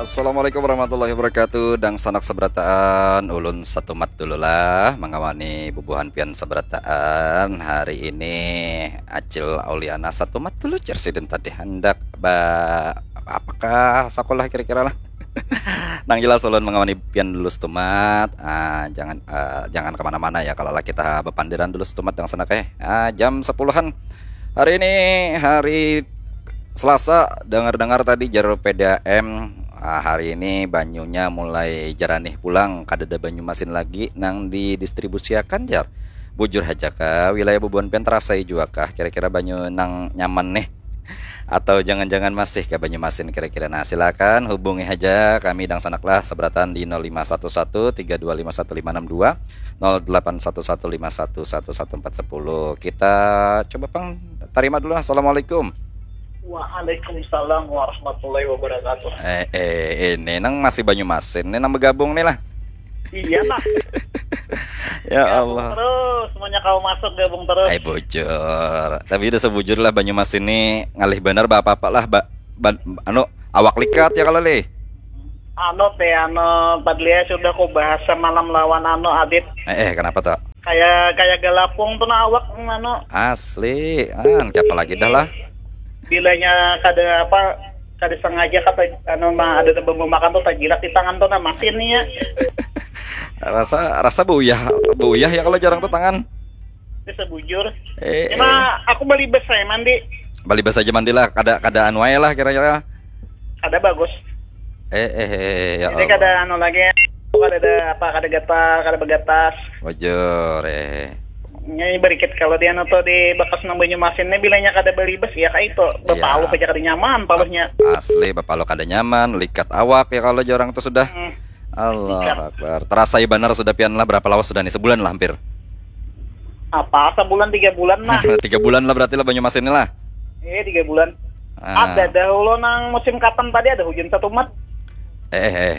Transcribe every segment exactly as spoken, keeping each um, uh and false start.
Assalamualaikum warahmatullahi wabarakatuh. Dangsanak sabarataan, ulun Satumat dulu lah mangawani bubuhan pian sabarataan. Hari ini Acil Auliana Satumat dulu, jar sidin tadi handak ba apakah sakulah kira-kira lah. Nang jelas ulun mangawani pian dulu Satumat. Ah, jangan ah, jangan kemana-mana ya, kalau lah kita bapandiran dulu Satumat, dangsanak eh. Ah, jam sepuluhan hari ini, hari Selasa, dengar-dengar tadi jar P D A M, ah, hari ini banyunya mulai jaranih pulang, kadada banyu masin lagi nang didistribusiakan, jar. Bujur haja kah, wilayah bubuhan pian terasai jua kah kira-kira banyu nang nyaman nih? Atau jangan-jangan masih ke banyu masin kira-kira? Nah, silakan hubungi haja kami dangsanak lah sabarataan di nol lima satu satu tiga dua lima satu lima enam dua, nol delapan satu satu lima satu satu satu empat sepuluh. Kita coba pang tarima dulu lah. Assalamualaikum. Waalaikumsalam warahmatullahi wabarakatuh. Eh, eh, ini nang masih banyu masin, ini nang bergabung nih lah. Iya lah. Ya Allah. Terus, semuanya kau masuk, gabung terus. Eh, bujur. Tapi udah sebujur lah, banyu masin ini ngalih benar, ba apa-apa lah, ba, ba, anu, awak likat ya kalau lih. Anu teh, anu, Padlia sudah ku bahas semalam lawan anu, Adit. Eh, eh, kenapa tuh? Kayak, kayak galapung tuh nah awak, anu. Asli, ah, siapa lagi dah lah. Bilanya kada apa, kada sengaja kata, anu, ma-, ada bambu makan tuh tajilat di tangan tuh nah, masin nih ya. Rasa, rasa beuyah, beuyah ya kalau jarang tuh tangan. Bisa bujur. Eh, cuma eh. Aku balibas saya mandi. Balibas aja mandi lah, kada, kada anu aja lah kira-kira. Kada bagus. Eh, eh, eh, eh, ya. Jadi Allah. Kada anu lagi, kada ada apa, kada gatal, kada bagatas. Bujur, eh. Ini berikit kalau dia anu tuh di bakas nang banyu masin nih, bilanya kada balibas ya kayak itu. Iya. Bapaluh aja kada nyaman paluhnya. Asli, bapaluh kada nyaman, likat awak ya kalau jarang tuh sudah. Hmm. Allahu Akbar. Terasai banar sudah pian lah, berapa lawas sudah nih? Sebulan lah hampir. Apa, sebulan, tiga bulan lah. Tiga bulan lah berarti lah banyu masin ini lah. Iya, tiga bulan. Ah. Ada dahulu nang musim kapan tadi ada hujan Satumat. Eh, eh, eh.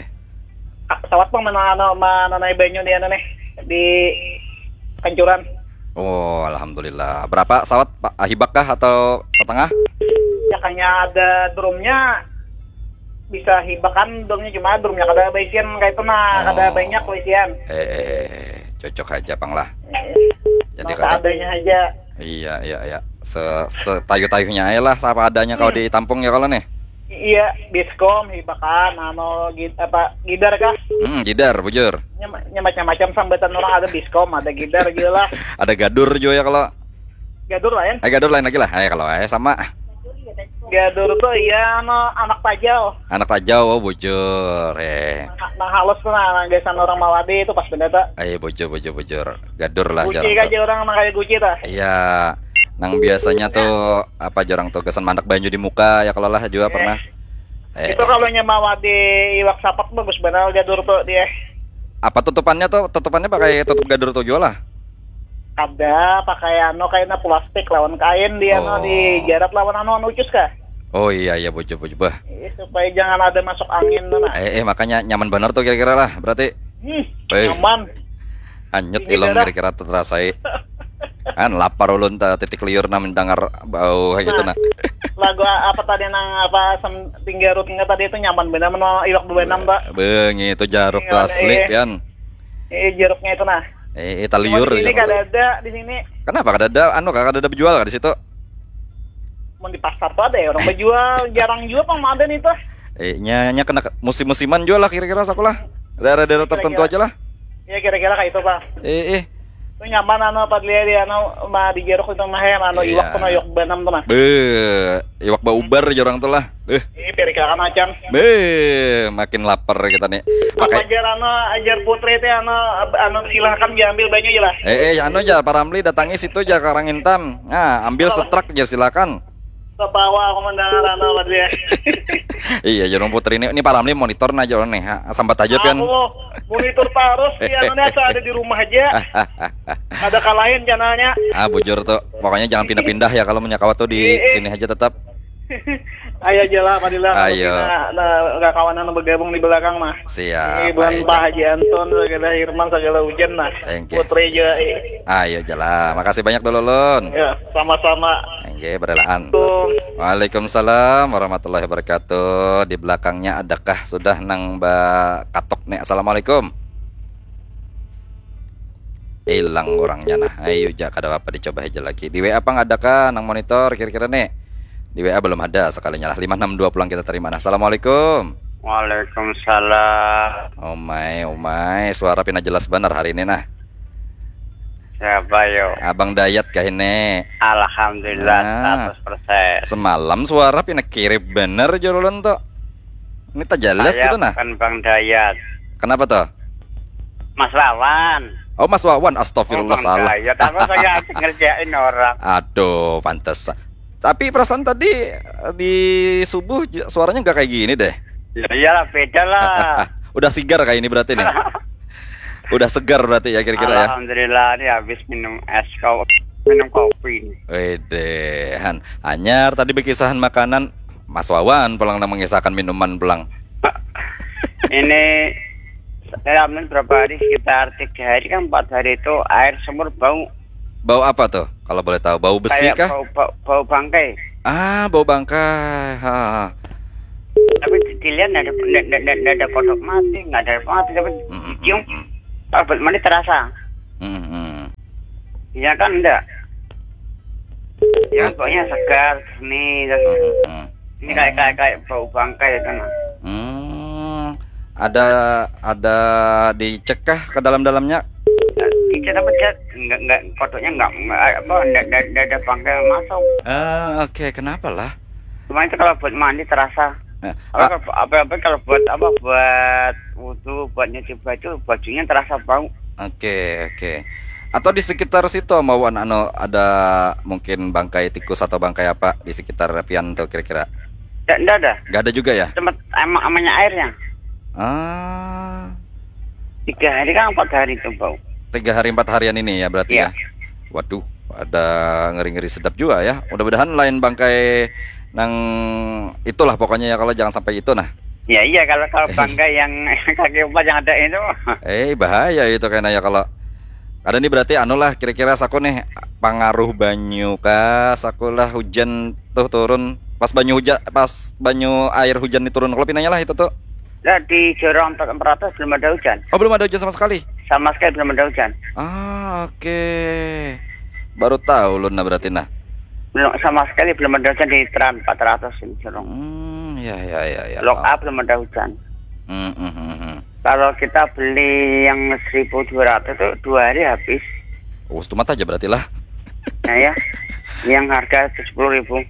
Sawat pang mana, anu, mananai banyu di anu nih, di Kancuran. Oh, alhamdulillah. Berapa sawat, Pak? Ah, hibak kah atau setengah? Ya, kayaknya ada drumnya, bisa hibakan drumnya, cuma drumnya kada baisian kayak itu nah, kada banyak baisian. Oh. Eh, eh, eh, eh. Cocok aja pang lah. Eh, jadi kada, seadanya aja. Iya, iya, iya. Se-, setayu-tayunya aja lah, apa adanya kalau ditampung ya kalau nih. Iya, biskom, hibakan, anu, gid-, apa, gidar kah? Hmm, gidar, bujur. Nyam-, nyamacam-macam sambatan orang ada biskom, ada gidar juga lah. Ada gadur juga ya kalau. Gadur lain. Eh, gadur lain lagi lah. Eh, kalau eh sama. Gadur tuh iya, anu, anak tajau. Anak tajau, oh, bujur. Eh. Nang, nang halus tuh nah, nang gasan orang Mawade itu pas benda tuh. Eh, bujur, bujur, bujur. Gadur lah. Guci jarang aja tuh. Orang nang kayak Guci tuh. Iya. Nang biasanya tuh apa, jarang tuh gasan mandak banyu di muka ya kalau lah juga pernah. Eh. Itu kalau nyamawa di iwak sapak bagus benar gadur tuh dia. Apa tutupannya tuh? Tutupannya pakai tutup gadur tuh juga lah. Ada pakai anu, kainnya plastik lawan kain dia anu, oh, dijarat lawan anu, anu ucus kah? Oh iya, iya, bujur, bujur, bah. Iya, supaya jangan ada masuk angin tuh nah. Eh, eh, makanya nyaman benar tuh kira-kira lah berarti. Hmm, eh. Nyaman. Hanyut ilung kira-kira terasai. Kan lapar ulun ta, titik liur nah mendengar bau kayak gitu nah. Lagu a-, apa tadi nang apa sem-, tinggarut nggak tadi itu nyaman benar meno iwak dua enam tuh. Bengi itu jaruk tuh asli pian. Eh, jeruknya itu nah. Eh, eh, taliur. Cuma di sini kada ada di sini. Kenapa kada ada? Anu, kada ada bejual kah di situ? Mun di pasar tuh ada ya orang bejual, jarang juga pang ada nih tuh. Eh, nya, nya kena ke-, musim-musiman juga lah kira-kira sakulah. Daerah-daerah tertentu aja lah. Ya kira-kira kayak itu, Pak. Eh, eh. Itu nyaman anu apa dilihat di anu ma di jeruk itu mah ya, anu iwak tuh nah, iwak banam tuh nah. Be, iwak baubar jarang tuh lah. Beuh. Ih, pirikirakan acan. Beuh, makin lapar kita nih. Pakai ajar anu, ajar putri teh anu, anu silahkan diambil banyu aja lah. Eh, eh, anu aja, Pak Ramli datangi situ aja Karang Intam. Nah, ambil setrak aja silakan. Ketawa aku mendengar anu apa dia. Iya, Jerung Putri ini, ini Pak Ramli monitor nah Jerung nih. Ha, sambat aja pian. Aku monitor terus, ya, anu nih, asal ada di rumah aja. Ada kalain channelnya. Ah, bujur tuh. Pokoknya jangan pindah-pindah ya kalau menyakawa tuh di sini aja tetap. Ayo aja lah, Fadila. Ayo. Nah, nah, kawan anu bergabung di belakang mah. Siap. Ini bukan Pak Haji Anton, segala Hirman, segala Ujan nah. Thank you. Putri juga. Ayo aja lah. Makasih banyak dulu, Lun. Ya, sama-sama. Oke, berelaan. Assalamualaikum. Waalaikumsalam warahmatullahi wabarakatuh. Di belakangnya adakah sudah nang bakatuk nih? Assalamualaikum. Hilang orangnya nah. Ayo ja, kada apa, dicoba aja lagi. Di W A apa nggak ada kah nang monitor kira-kira nih? Di W A belum ada sekalinya lah. Lima enam dua pulang kita terima. Nah, assalamualaikum. Waalaikumsalam. Umai, umai, suara pina jelas benar hari ini nah. Siapa yo? Abang Dayat kah ini? Alhamdulillah, nah, seratus persen. Semalam suara pina kirip bener jolon tuh. Ini tak jelas sudah nah. Bukan Bang Dayat. Kenapa tuh? Mas Wawan. Oh, Mas Wawan, astagfirullah, oh, Bang salah. Dayat, apa saya ngerjain orang? Aduh, pantes. Tapi perasaan tadi, eh, di subuh j- suaranya nggak kayak gini deh. Ya iyalah, beda lah. Udah sigar kayak ini berarti nih. Udah segar berarti ya kira-kira ya. Alhamdulillah, ini habis minum es kau minum kopi nih. Wedehan, anyar tadi berkisahan makanan, Mas Wawan pulang nang mengisahkan minuman pulang. Ini saya berapa hari, sekitar tiga hari kan empat hari itu air sumur bau. Bau apa tuh? Kalau boleh tahu, bau besi kah? Kayak bau, bau, bau bangkai. Ah, bau bangkai. Ha, ha. Tapi di- dilihat nggak ada nggak nggak- nggak- nggak ada kodok mati, nggak ada mati, tapi mm, mm, dicium, mm, mm, kalau buat mandi terasa. Mm, mm. Iya kan enggak? Ya, oke, pokoknya segar, jernih, terus mm, mm, mm, ini kayak kayak kayak bau bangkai itu nah. Hmm, ada ada dicek kah ke dalam-dalamnya? Dicek apa, cek? Enggak, enggak, kodoknya enggak, enggak, apa, enggak, enggak, enggak ada bangkai masuk. Ah, oke, kenapa lah? Cuma itu kalau buat mandi terasa. Nah, apa, ah, kalau, apa, apa kalau buat apa, buat wudhu, buat nyuci baju, bajunya terasa bau. Oke, oke. Atau di sekitar situ, Mawan, anu, ada mungkin bangkai tikus atau bangkai apa di sekitar pian tuh kira-kira? Nggak, nggak ada. Nggak ada juga ya? Tempat emang amanya airnya. Ah. Tiga hari kan empat hari itu bau. Tiga hari empat harian ini ya berarti, iya, ya? Waduh, ada ngeri-ngeri sedap juga ya. Mudah-mudahan lain bangkai nang itulah pokoknya ya, kalau jangan sampai itu nah. Ya iya, kalau kalau bangkai yang kaki empat yang ada itu. Eh, bahaya itu kayaknya ya kalau ada nih berarti anu lah kira-kira saku nih, pengaruh banyu kah saku lah, hujan tuh turun pas banyu hujan, pas banyu air hujan nih turun kalau pinanya lah itu tuh. Nah, di Jorong empat ratus belum ada hujan. Oh, belum ada hujan sama sekali? Sama sekali belum ada hujan. Ah, oke. Baru tahu lu nah berarti nah. Belum, sama sekali belum ada hujan di Tran empat ratus ini, Jorong. Hmm, ya, ya, ya, ya. Blok A belum ada hujan. Hmm, hmm, hmm, hmm. Kalau kita beli yang seribu dua ratus tuh dua hari habis. Oh, setumat aja berarti lah. Nah ya, yang harga tujuh puluh ribu.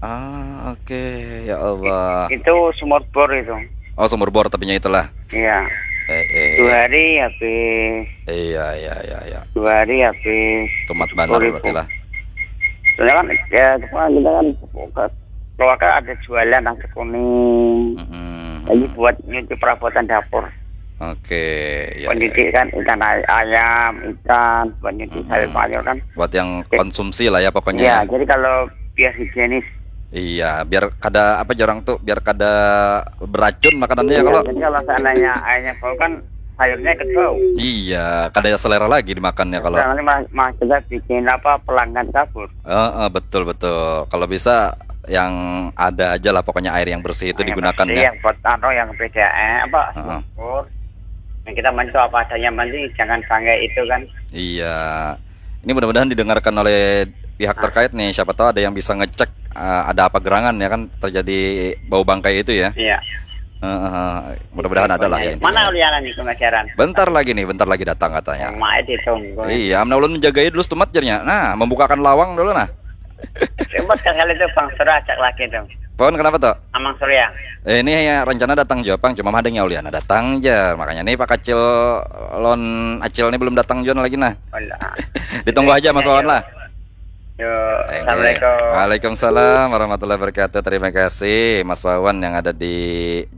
Ah, oke, ya Allah. Itu sumur bor itu. Oh, sumur bor tapinya itulah. Iya. Eh, eh. Dua hari habis. Iya, iya, iya, iya. Dua hari habis. Tumat banar berarti lah. Soalnya kan, ya, kita kan, kita kan keluarga ada jualan nasi kuning. Mm-mm. Jadi buat nyuci perabotan dapur. Oke, ya, ya. Buat nyuci kan ikan ay- ayam, ikan, buat nyuci, mm-mm, sayur mayur kan. Buat yang konsumsi lah ya pokoknya. Iya, ya, jadi kalau biar higienis. Iya, biar kada apa, jarang tuh, biar kada beracun makanannya ya. Iya, kalau jadi kalau seandainya airnya bau kan sayurnya ikut bau. Iya, kada selera lagi dimakannya kalau. Nah, ini mah, mah kita bikin apa, pelanggan kabur. Heeh, betul, betul. Kalau bisa yang ada aja lah pokoknya, air yang bersih itu digunakan ya. Yang bersih, yang buat anu, yang P D A M apa, heeh, sumur. Yang kita mandi itu apa adanya, mandi jangan pakai itu kan. Iya. Ini mudah-mudahan didengarkan oleh pihak, ah, terkait nih. Siapa tahu ada yang bisa ngecek, eh, ada apa gerangan ya kan, terjadi bau bangkai itu ya. Iya. Heeh, mudah-mudahan ada lah ya intinya. Mana Uliana nih pemasaran? Bentar lagi nih, bentar lagi datang katanya. Mau main ditunggu. Iya, amna ulun menjagai dulu setumat jarnya. Nah, membukakan lawang dulu nah. Coba sekali tuh Bang Surya ajak lagi dong. Pon, kenapa tuh? Amang Surya. Eh, ini ya rencana datang jua pang, cuma ada yang Uliana datang jar. Makanya nih Pak Kacil lon Acil nih belum datang jua lagi nah. Ditunggu aja Mas Wawan lah. Yo, thank you. Assalamualaikum. Waalaikumsalam warahmatullahi wabarakatuh. Terima kasih Mas Wawan yang ada di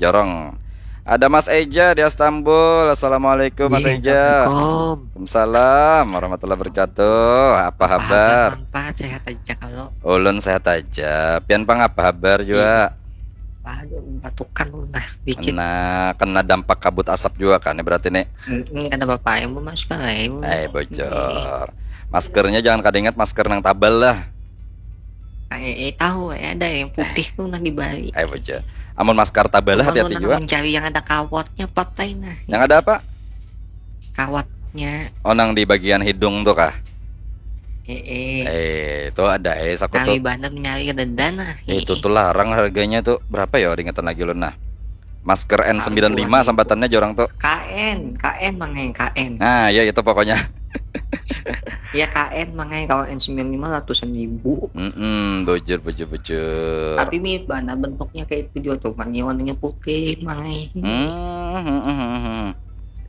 Jorong. Ada Mas Eja di Istanbul. Assalamualaikum Mas Eja. Iya, assalamualaikum. Waalaikumsalam warahmatullahi wabarakatuh. Apa habar? Apa habar, Bang Pat? Sehat aja kalau. Ulun sehat aja. Pian pang apa habar jua? Iya. Aduh, batukan ulun nah dikit. Nah, kena dampak kabut asap jua kan berarti nih. Mm-mm, kada apa-apa, yang mau masuk kan, eh, mau. Eh, bocor. Maskernya jangan kada ingat masker nang tabal lah. Eh, eh, tahu eh, ada yang putih tuh nah di Bali. Ayo baca. Amun masker tabalah hati-hati juga. Mencari yang ada kawatnya patai nah. Yang ada apa? Kawatnya. Oh, nang di bagian hidung tuh kah? Eh, eh. Eh, itu ada eh saku tuh. Kami banget nyari ada dana. Eh, itu tuh larang harganya tuh berapa ya? Ingetan lagi ulun nah. Masker N sembilan lima sambatannya jorang tuh. K N, K N mangai K N. Nah, ya itu pokoknya. Ya K N mangai kalau N sembilan lima ratusan ribu. Mm -mm, bujur bujur bujur. Tapi mirip bana bentuknya kayak itu juga tuh, warnanya putih mangai. Hmm, hmm, hmm, hmm.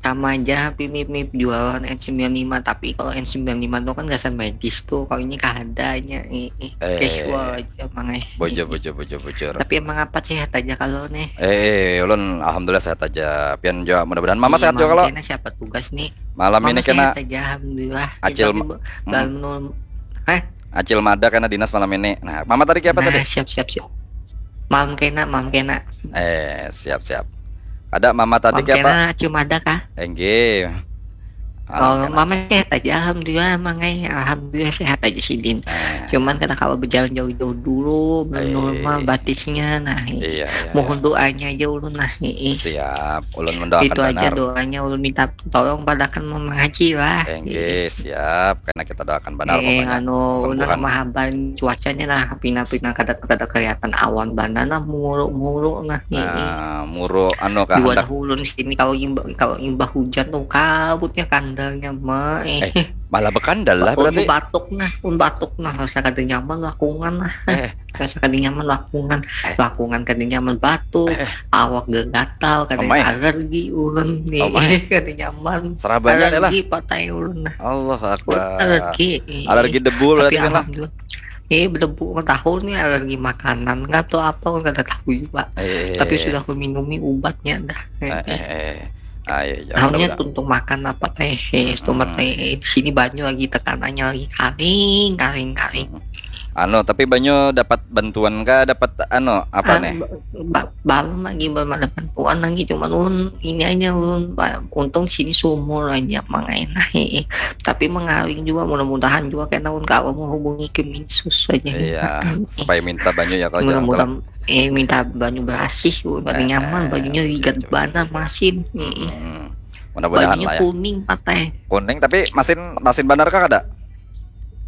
Sama aja tapi mirip-mirip jualan N sembilan lima, tapi kalau N sembilan lima tuh kan gasan medis tuh, kalau ini kahadanya eh, eh, casual aja mangai. Bujur bujur bujur bujur. Tapi emang apa sehat aja kalau nih. Eh, eh ulun alhamdulillah sehat aja. Pian juga mudah-mudahan mama iya, sehat juga kalau. Kena siapa tugas nih? Malam mama ini kena aja alhamdulillah. Acil hmm. Hah? Acil mada kena dinas malam ini. Nah, mama tadi kayak apa nah, tadi? Siap siap siap. Malam kena, malam kena. Eh, siap siap. Ada mama tadi kayak apa? Kena, cuma ada kah? Enggih. Oh, mama sehat aja, alhamdulillah, mangai, alhamdulillah sehat aja sidin. Eh. Cuman karena kalau berjalan jauh-jauh dulu, belum eh. normal batisnya, nah. Iya, iya, mohon iya. doanya aja ulun nah. Siap, ulun mendoakan Itu benar. aja doanya ulun minta tolong padakan mengaji lah. Enggih, siap. Karena kita doakan benar eh, pokoknya. Anu, ulun mahaban cuacanya nah, pina-pina kada kada kelihatan awan bana nah, muru-muru nah. Nah, muru anu kah? Dua dahulun sini kalau imbah kalau imbah hujan tuh kabutnya kandalnya mah eh. eh malah berkandal lah berarti. Batuk nah, pun batuk nah, rasa kada nyaman lakungan lah. Eh. Rasa kada nyaman lakungan, eh. lakungan kada nyaman batuk, eh. awak gatal, kada oh, alergi ulun nih, oh, kada nyaman. Serabanya alergi adalah patai ulun nah. Allah Akbar. Alergi. Alergi debu berarti kan lah. Eh, belebu tahun nih alergi makanan nggak tahu apa nggak ada tahu juga. Eh, tapi sudah aku minumi ubatnya dah. Eh, eh, eh. Ayo, ah, iya, iya. Tahunya tuntung makan apa teh, eh, hmm. teh eh, di sini banyu lagi tekanannya lagi karing, karing, karing. Hmm. Anu, tapi banyu dapat bantuan kah? Dapat anu apa ah, nih? Ba balum lagi belum ada bantuan lagi, cuman ulun ini aja ulun untung sini sumur aja mangai nah. Tapi mengaring juga, mudah-mudahan juga kena ulun kawa menghubungi Keminsus aja. Iya, supaya minta banyu ya kalau mudah-mudahan. Eh minta banyu berasih, ulun kada eh, nyaman eh, banyunya ligat bana masin. Hmm. Mudah-mudahan lah ya. Kuning patai. Kuning tapi masin masin banar kah kada?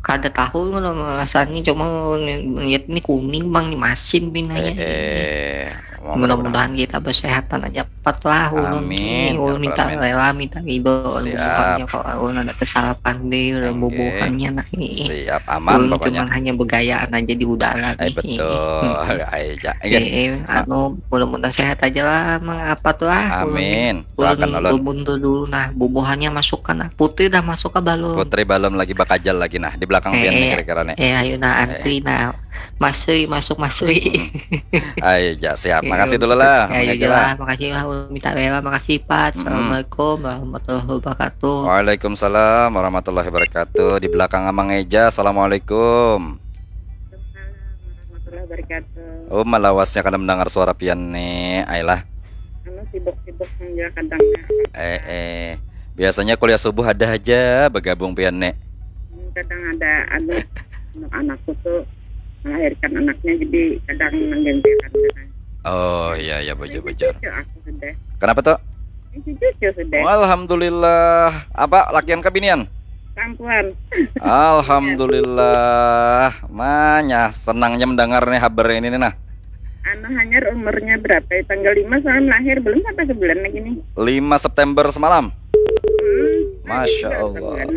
Kada tahu kalau rasanya cuma lihat ini kuning bang di masin pinanya. Eh, eh. Mudah-mudahan kita bersehatan aja cepat lah ulun. Amin. Ulun minta rela minta ridho bukannya kalau ulun ada kesalahan deh ulun bubuhannya nah ini. Siap aman ulun pokoknya. Cuman hanya begayaan aja di udara eh, nih. Betul. Ayo, eh, eh, anu mudah-mudahan sehat aja lah mang apa tuh lah. Amin. Doakan ulun. Ulun dulu nah bubuhannya masukkan nah. Putri dah masuk ke balum. Putri balum lagi bakajal lagi nah di belakang eh, pian eh, kira-kira nih. Eh ayo nah antri eh. Nah. Masui, masuk masui. Hmm. Ayo, ja, siap. Iya, makasih dulu lah. Ayo, lah. Makasih lah, minta bela, makasih Pat. Hmm. Assalamualaikum warahmatullahi wabarakatuh. Waalaikumsalam warahmatullahi wabarakatuh. Di belakang Amang Eja, assalamualaikum. Oh, malawasnya kada mendengar suara pian nih. Ayolah. Anu sibuk-sibuk menjelaskan kadang. Eh, eh. Biasanya kuliah subuh ada aja bergabung pian nih. Hmm, kadang ada anu anak-anakku tuh melahirkan anaknya jadi kadang menggantikan. Oh iya iya bujur bujur. Cucu aku sudah. Kenapa tuh? Cucu sudah. Oh, alhamdulillah. Apa lakian kebinian? Perempuan. Alhamdulillah. Manya senangnya mendengar nih kabar ini nih nah. Anu hanyar umurnya berapa? Ya, tanggal lima semalam lahir, belum sampai sebulan lagi nih. Lima September semalam. Hmm, Masya Allah.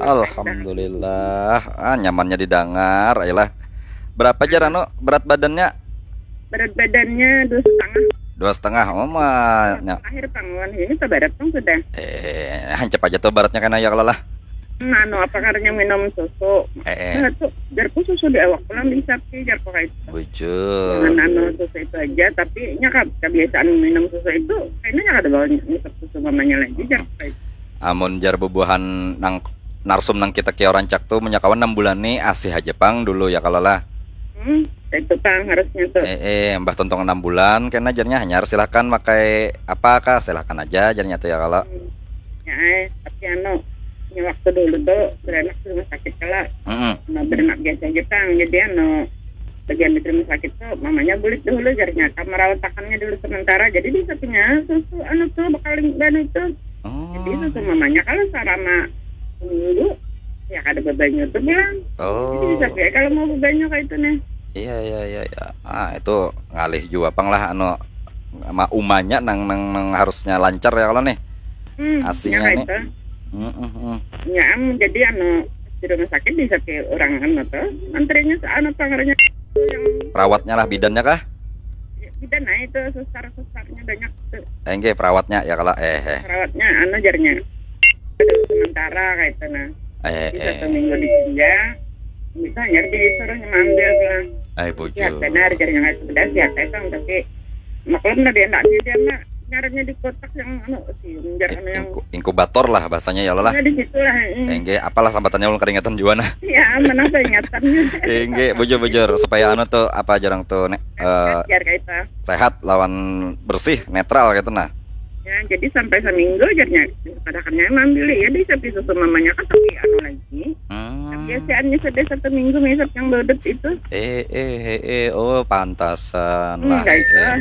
Alhamdulillah. Ah, nyamannya didengar, ayolah. Berapa jar anu berat badannya? Berat badannya dua setengah. Dua setengah, oh mah. Lahir pangwan ini ke barat pun sudah. Eh, hancap aja tuh baratnya kena ya kalau lah. Nah, anu apa karena minum susu. Eh, eh. Nah, tuh, jarku susu di awak pulang bisa sih, jarku kayak itu. Bujur. Dengan anu susu itu aja, tapi nya kebiasaan minum susu itu kayaknya kada bawa ngisap susu mamanya lagi, jarku kayak itu. Amun jar bubuhan nang narsum nang kita kia rancak tu, munnya kawan enam bulan ni asih haja pang dulu ya kalo lah. Hmm, itu pang harusnya tu. Eh, eh, mbah tontong enam bulan kena jarnya hanyar silahkan makai apa kah silahkan aja jarnya tu ya kalo. Hmm. Ya, eh, tapi anu, ini waktu dulu tu beranak di rumah sakit kalo. Mm -mm. Nah, beranak biasa aja pang, jadi anu, bagian di rumah sakit tuh mamanya bulik dahulu jarnya, kamar rawatakannya dulu sementara. Jadi bisa punya susu anu tuh, bekaling dan itu. Jadi Oh. Susu mamanya kalau selama seminggu ya kada bebanyu tuh bilang. Jadi bisa Oh. kayak kalau mau bebanyu kayak itu nih. Iya, iya, iya, iya. Ah, itu ngalih jua pang lah anu ma umanya nang nang, nang harusnya lancar ya kalau nih. Hmm, Asinya ya nih. Itu. Hmm, hmm, hmm. Ya, am, jadi anu di rumah sakit bisa ke orang anu tuh. Antrinya anu pangarnya yang Perawatnya lah, bidannya kah? Kita naik tuh, susar-susarnya banyak tuh. Eh, enggak, perawatnya ya kalau eh eh. Perawatnya anu jarnya. Aduh, sementara kayak itu nah. Eh Bisa eh. Seminggu ditinjau. Bisa nyari disuruh ngambil lah. Ai Sihat bujur. Benar jarnya, nggak sebenar sihat itu, tapi maklum lah dia ndak dia mah nyarinya di kotak yang anu sih, jar anu yang Inku- inkubator lah bahasanya ya Allah lah. Ya, di situ lah. Hmm. Enggak, apalah sambatannya ulun karingatan jua nah. Ya, mana peringatan juga. Enggak, bujur-bujur supaya anu tuh apa jarang tuh nek eh, Biar kayak itu. Sehat lawan bersih, netral gitu nah. Ya, jadi sampai seminggu jarnya padakannya emang beli ya di sapi susu mamanya kan tapi anu lagi. Hmm. Biasaannya sudah satu minggu misap yang bodet itu. Eh eh eh eh oh pantasan lah. Enggak itu. Eh.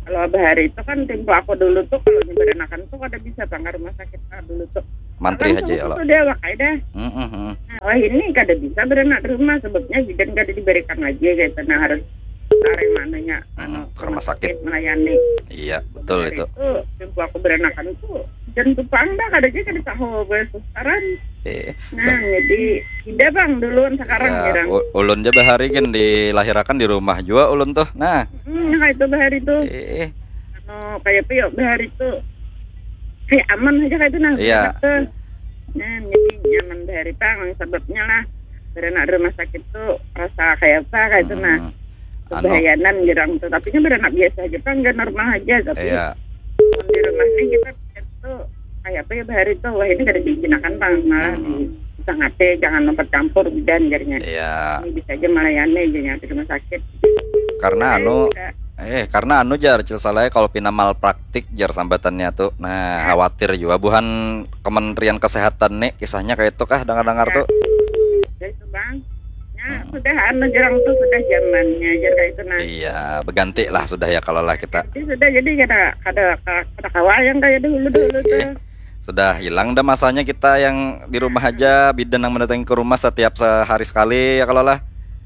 Kalau bahari itu kan tempo aku dulu tuh kalau nyebaranakan tuh kada bisa bang ke rumah sakit ah, dulu tuh. Mantri Langsung aja ya lo. Sudah wakai dah. Hmm, hmm, hmm. Nah, wah ini kada bisa beranak di rumah sebabnya bidan kada diberikan lagi gitu. Nah harus cari mananya Hmm, anu, ke rumah sakit. Melayani. Iya, betul Hari itu. Itu tempo aku beranak tuh dan tupang dah kada aja kada tahu bahasa sekarang. Eh, Nah, jadi tidak bang duluan sekarang ya, jarang. u- ulun ja bahari gin dilahirakan di rumah jua ulun tuh. Nah, Hmm, nah itu bahari tuh. eh, Anu kayak apa ya bahari tuh kayak aman aja kayak itu nah. Iya. Enak tuh. Nah, jadi nyaman bahari pang sebabnya lah beranak di rumah sakit tuh rasa kayak apa kayak itu nah. mm, anu, Kebahayanan jarang tuh. Tapi kan beranak biasa aja pang nggak normal aja tapi iya, di rumah nih kita tuh kayak apa ya bahari tuh wah ini kada diizinakan pang malah Hmm. di sangate jangan mempercampur bidan jarnya. Iya. Ini bisa aja melayani aja yang di rumah sakit. Karena anu, Iya. eh, karena anu jar, cil salahnya kalau pina malpraktik jar sambatannya tuh. Nah, khawatir juga buhan Kementerian Kesehatan nih kisahnya kayak itu kah dengar-dengar tuh. Ya itu bang. Ya sudah anu jarang tuh sudah zamannya jar kayak itu nah. Iya, berganti lah sudah ya kalau lah kita. Jadi sudah jadi kada kada kada kawa yang kayak dulu dulu tuh. Sudah hilang dah masanya kita yang di rumah aja, bidan yang mendatangi ke rumah setiap sehari sekali ya kalau lah.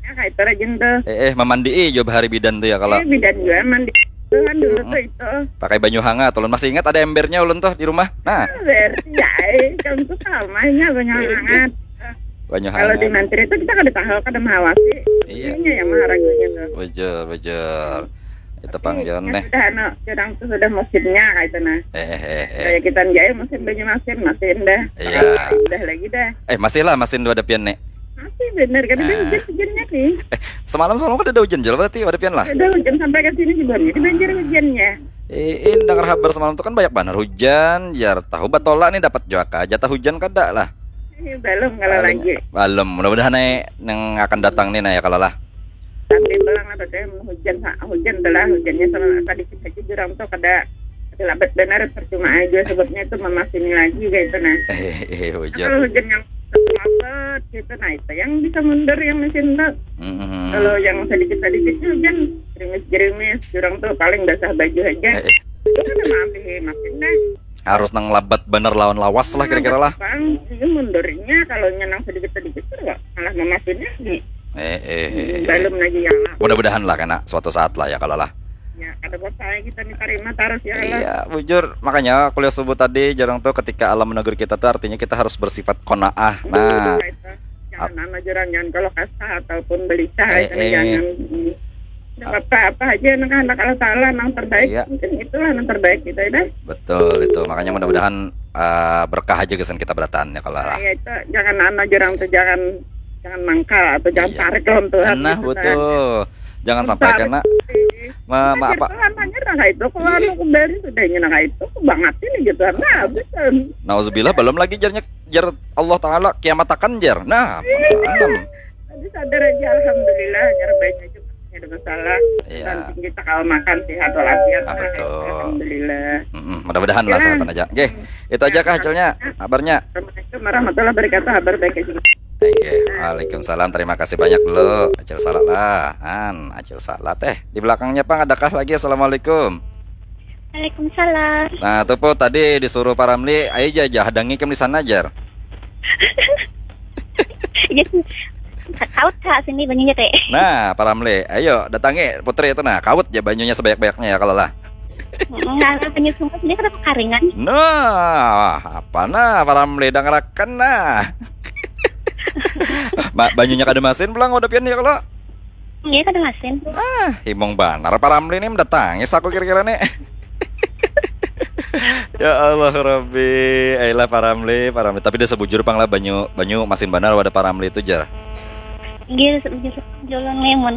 Ya kayak itu rajin tuh. Eh, eh, memandii jawab hari bidan tuh ya kalau. Eh bidan juga mandi tuh kan dulu tuh itu. Pakai banyu hangat, ulun masih ingat ada embernya ulun tuh di rumah. Nah, Berarti ya, eh, kamu tuh samanya banyak Eh, banget. banyu Kalau di hangat. Mantri itu kita kada tahu kada mengawasi. Iya. Ininya yang maharagunya tuh. Bujur, bujur. Itu pang Jon Ya nih. Sudah anu, orang tuh sudah musimnya kayak itu nah. Eh, eh, eh, eh. Kayak kita jaya musim banyu masin, masin dah. Iya. Dah lagi dah. Eh, masih lah, masih dua depian nih. Masih bener kan ada Ah. hujan hujannya sih. Semalam semalam kan ada hujan jual berarti, ada pian lah. Ada hujan sampai ke sini sebelumnya di banjir hujannya. Eh, eh, dengar kabar semalam tuh kan banyak banget hujan, jar tahu batola nih dapat juga kah jatah hujan kada lah. Ini belum kalau Paling- lagi. Belum, mudah-mudahan nih yang akan datang nih nah ya kalau lah. Tapi belang apa teh hujan sa- hujan telah hujannya sama sedikit aja jurang tuh kada kada labat benar percuma aja sebabnya itu memasini lagi kayak itu nah. Eh, eh, hujan. Kalau hujan yang lebat gitu nah itu yang bisa mundur yang mesin tuh. Mm-mm. Kalau yang sedikit-sedikit hujan gerimis-gerimis jurang tuh paling basah baju aja. Eh, eh, Itu kan maaf sih makin deh. harus nang labat bener lawan lawas lah kira-kira lah. Bang, ini mundurnya kalau nyenang sedikit-sedikit tuh nggak malah memasin lagi. Eh, eh, eh, eh. Belum lagi yang Mudah-mudahan lah kena suatu saat lah ya kalau lah. Ya, ada buat saya kita nih terima terus ya Allah. Iya, bujur. Makanya kuliah subuh tadi jarang tuh ketika alam menegur kita tuh artinya kita harus bersifat kona'ah. Nah, Itu. Jangan nama jurang jangan kalau kasar ataupun belicah Eh, itu eh. Jangan. Hmm. Nggak apa-apa aja anak-anak Allah Taala yang terbaik Iya. Mungkin itulah yang terbaik kita ya dah. Betul itu. Makanya mudah-mudahan eh, berkah aja kesan kita berataan ya kalau lah. Ya itu jangan nama jurang tuh jangan jangan mangkal atau jangan Iya. tarik dalam tuh. Nah, betul. Jangan sampai kena ma, ma apa? Tuhan hanya nah itu kalau anu kembali sudahnya nah itu banget ini gitu nah habis kan. Nauzubillah belum lagi jarnya jar Allah Taala kiamat akan jar. Nah, tanam. Jadi sadar aja alhamdulillah nyar banyak juga ada masalah. Iya. Penting kita kalau makan sehat walafiat. Ah, Nah, betul. Alhamdulillah. Mm-mm, mudah-mudahan lah Ya. sehatan aja. Oke, itu aja kah hasilnya, kabarnya. Assalamualaikum warahmatullahi wabarakatuh. Kabar baik aja. Oke, waalaikumsalam. Terima kasih banyak dulu. Acil Salat lah. An, Acil Salat. Eh, di belakangnya pang adakah lagi? Assalamualaikum. Waalaikumsalam. Nah, tuh po tadi disuruh Pak Ramli, ayo aja, hadangi kam di sana, jar. Jadi, kaut kak sini banyunya teh. Nah, Pak Ramli, ayo datangi putri itu, nah, kaut aja banyunya sebanyak-banyaknya ya kalau lah. Nah, banyu sungai sini kada kekaringan. Nah, apa nah, Pak Ramli, dangarakan nah. Ma, banyunya kada masin pulang, udah pian ya kalau. Iya, kada masin. Ah, himung banar Pak Ramli nih, mendatangi aku kira-kira nih. Ya Allah Rabbi, ayolah Pak Ramli, Pak Ramli. Tapi dia sebujur pang lah, banyu, banyu masin banar wadah Pak Ramli itu, jar. Iya, sebujur julun nih, mun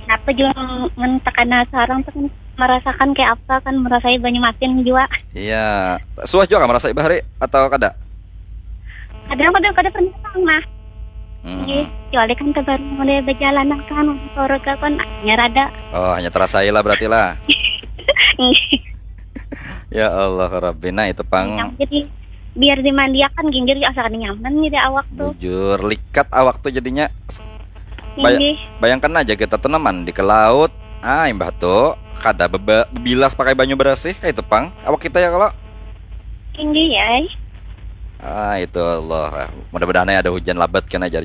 apa julun mun tekana seorang tuh kan merasakan kayak apa kan, merasai banyu masin juga. Iya, suah juga kan merasai bahari atau kada? Kadang-kadang kada pernah pang nah. Hmm. Iya, kecuali kan terbaru mulai berjalan kan, keluarga kan hanya rada. Oh, hanya terasai lah berarti lah. Iya. Ya Allah Rabbi, nah itu pang. Jadi biar dimandiakan ginggir asa kada nyaman nih di awak tuh. Bujur, likat awak tuh jadinya. Bay- Inggih. Bayangkan aja kita tuh mandi ke laut, ah, imbah tuh kada beba- bebilas pakai banyu bersih kayak itu pang. Awak kita ya kalau. Inggih ya. Ah, itu Allah. Mudah-mudahan ya ada hujan labat kan aja,